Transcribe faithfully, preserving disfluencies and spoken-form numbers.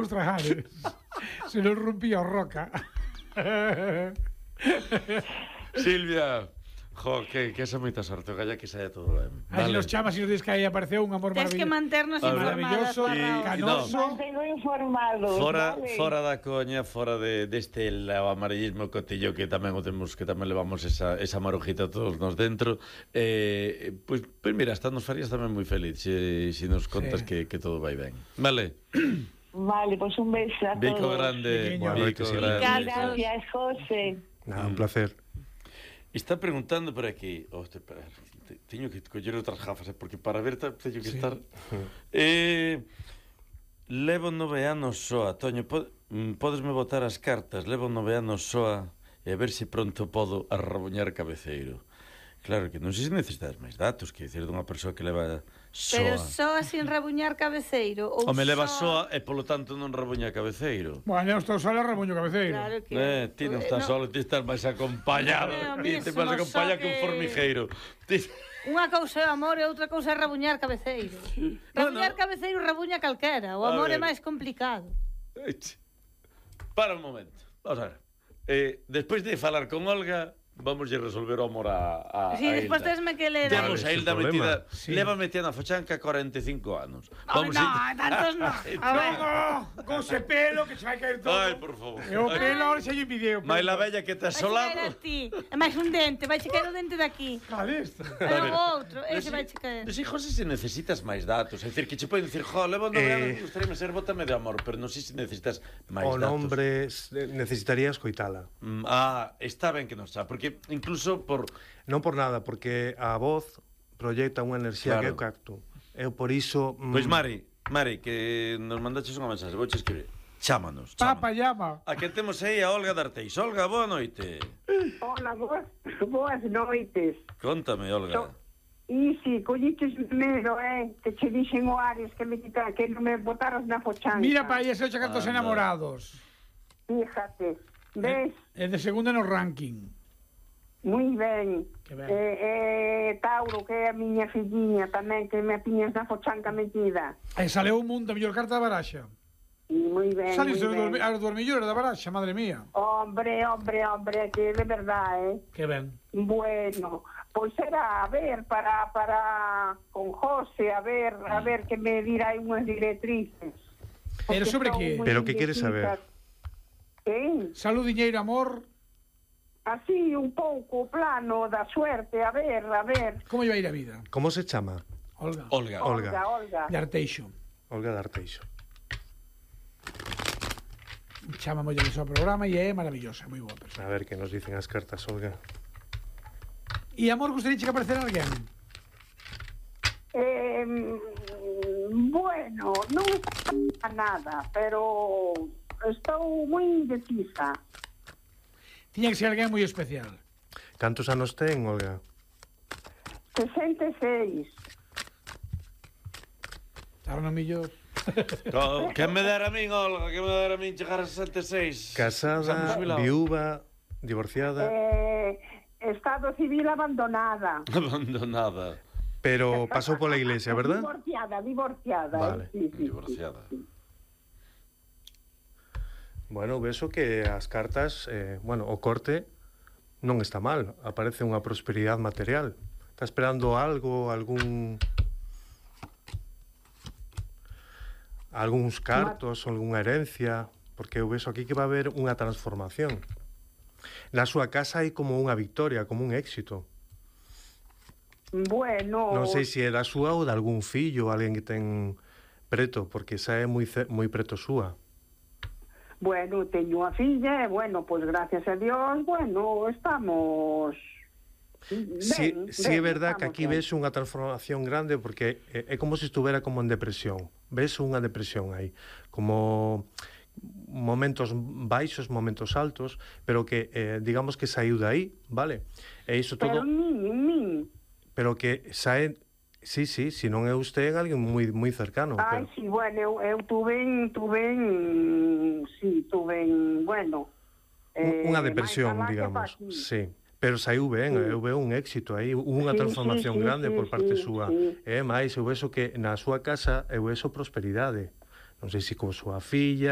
os trajales. Se nos rompía o roca. Silvia, jo, que, que esa moita sorte, galla que saia todo ben. Aí nos chamas e nos dis que aí apareceu un amor Tens que manternos informados. maravilloso, y- canoso. Mantengo informados. Fora, vale. fora da coña, fora de deste de amarillismo cotillo que tamén o temos, que tamén levamos esa, esa marujita todos nos dentro. Eh, pois, pois mira, hasta nos farías tamén moi feliz se, se nos contas Sí. que, que todo vai ben. Vale. Vale, pues un beso a Bico todos. grande, Pequeño. bico Buenas grande. Gracias, José. Nada, un placer. Está preguntando por aquí. Oh, te, te, teño que coller outras gafas, eh, porque para ver ta- teño que Sí. estar. Eh, levo nove anos soa, Toño, pod, mm, podesme botar as cartas. Levo nove anos soa e a ver se pronto podo arrabuñar cabeceiro. Claro que non sei se necesitas máis datos, que dicir dunha persoa que leva soa. Pero soa sin rabuñar cabeceiro ou O me leva soa e polo tanto non rabuña cabeceiro. Bueno, eu estou solo rabuño cabeceiro. Claro que Eh, ti non estás no. solo, ti estás máis acompañado. No, Ti mesmo, te vas acompañado só que un que- formigueiro. Ti... Unha cousa é o amor e outra cousa é rabuñar cabeceiro. Rabuñar Bueno. cabeceiro rabuña calquera. O A amor é ver. máis complicado. Eche. Para un momento. Vamos a ver. Eh, despois de falar con Olga, vamos a resolver o amor a, a, Si, a despois Hilda. tesme que ler. Temos a Vale, Hilda sin problema. metida, Sí. leva metida na fochanca cuarenta e cinco anos. Vamos no, a- tantos no. A ver. No, con ese pelo que se vai caer todo. Ai, por favor. E o pelo ahora xa lle video. Mai la bella que te Vai chegar a asolado. ti. É máis un dente, vai chegar o dente daqui. Vale, isto. Pero o outro, ese vai chegar. Non sei, José, se necesitas máis datos. É dicir, que che poden dicir, jo, levo nove Eh, anos, gustaríame ser bótame de amor, pero non sei se necesitas máis O datos. nombre s- necesitaría escoitala. Mm, ah, está ben que non xa, porque incluso por... Non por nada, porque a voz proyecta unha enerxía Claro. que eu capto. Eu por iso... mm, Pois Mari, Mari, que nos mandaches unha mensaxe, vouche escribir. Chámanos, Papa chámanos. llama. A que temos aí a Olga D'Arteis. Olga, boa noite. Hola, boas, boas noites. Contame, Olga. So, e si, colliches primeiro, eh, que che dixen o Ares que me quita, que non me botaras na fochanca. Mira pa aí ese ocho cantos Anda. enamorados. Fíjate, ves, É de segundo no ranking. moi ben. Que ben. Eh, eh, Tauro, que é a miña filliña tamén, que me tiñas na fochanca metida. E sale un mundo a mellor carta da baraxa. E moi ben, Sale moi os ben. dormi- as dormillores da baraxa, madre mía. Hombre, hombre, hombre, que de verdade, eh. Que ben. Bueno, pois era a ver para para con José, a ver, a ver que me dirá aí unhas directrices. Pero Porque sobre estou que? moi Pero que queres indecisa. saber? Que? Salud, diñeiro, amor. Así un pouco o plano da suerte, a ver, a ver. Como lle vai ir a vida? Como se chama? Olga. Olga. Olga. Olga, Olga. De Arteixo. Olga D'Arteixo. Chama moi de seu programa e é maravillosa, moi boa persona. A ver que nos dicen as cartas, Olga. E amor, gustaría que aparecer alguén? Eh, bueno, non está nada, pero estou moi indecisa. Tiña que ser alguén moi especial. Cantos anos ten, Olga? sesenta e seis. Ahora non millor. Co- Que me dera a min, Olga, que me dera a min chegar a sesenta e seis. Casada, viúva, divorciada, Eh, estado civil abandonada. Abandonada. pero pasou pola iglesia, verdad? Divorciada, divorciada. Vale. eh, sí, sí, Divorciada. sí, sí. Bueno, vexo que as cartas, eh, bueno, o corte non está mal. Aparece unha prosperidade material. Está esperando algo, algún... algúns cartos, algunha herencia, porque eu vexo aquí que va a haber unha transformación. Na súa casa hai como unha victoria, como un éxito. Bueno, Non sei se é da súa ou de algún fillo, alguén que ten preto, porque esa é moi, ce- moi preto súa. bueno, teño a filla e, bueno, pues gracias a Dios, bueno, estamos... Si, ben, si é ben, verdad que estamos aquí ben. ves unha transformación grande porque é, é como se estuvera como en depresión. Ves unha depresión aí, como momentos baixos, momentos altos, pero que eh, digamos que saiu de aí, vale? E iso todo, Pero nin, nin. pero que sae, sí, sí, si non é usted alguén moi moi cercano, Ai, pero sí, bueno, eu, eu tuve, tuve, sí, tuve, bueno... un- unha eh, depresión, máis alá que digamos, pa aquí. sí. Pero saiu ben, Sí. eu veo un éxito aí, unha Sí, transformación sí, sí, grande sí, por parte sí, súa. sí. E máis, eu vexo que na súa casa eu vexo prosperidade. Non sei se con súa filla,